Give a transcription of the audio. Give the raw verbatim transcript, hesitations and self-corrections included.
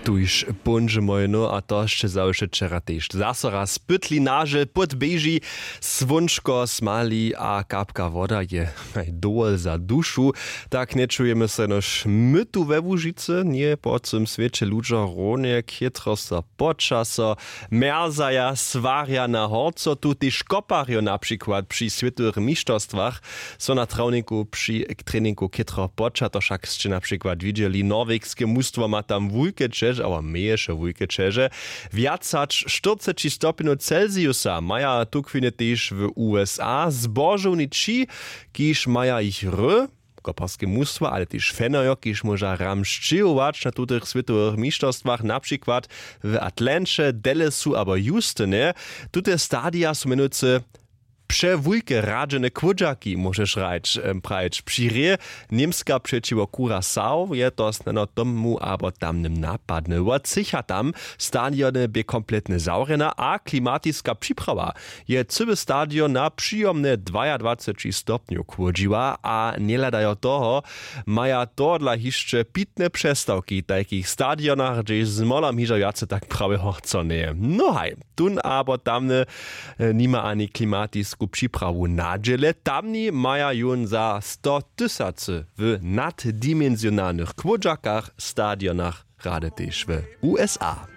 Tuž póńdźe mojno a to sće zawše wčera tež zaso raz pytli nažel pód běži. Słónčko smali a kapka woda je dowol za dušu. Tak nječujemy so jenož my tu we łužicy njeje po cym swěće ludźo runje chětro so počaso mjerzaja swarja na horco tu tež koparjo na přikład při swětowych mišterstwach. So na trawniku při treningu chětro poča to wšak sće na přikład widźeli norwegske mustwo ma tam wulke ćeže abo měješe wulke ćeže. Wjac hač štyrceći stopnjow celsiusa maja tukwiny tež w usa zbožowni ći, kiž maja jich r koparske mustwa ale tež fenojo kiž móža ram sćěhować na tutych swětowych mišterstwach na přikład w atlanće dallasu abo houstone. Tute stadija su mjenujcy přewulke radźene kłódźaki móžeš hrać prajić při rě. Němska přećiwo kurasau je to snano tomu abo tamnym napadnyła cycha tam. Stadiony bě kompletnje zawrjena a klimatiska připrawa je cyły stadion na přijomne dwajadwaceći stopnjow kłódźiła a njehladajo toho maja tohodla hišće pitne přestawki w tajkich stadionach hdźež z molom hižo wjace tak prawe horco njeje. No haj, tón abo tamny nima ani klimatisku připrawu na dźěle tamni maja jón za stotysacy w naddimensjonalnych kłódźakach stadionach rady tež w usa.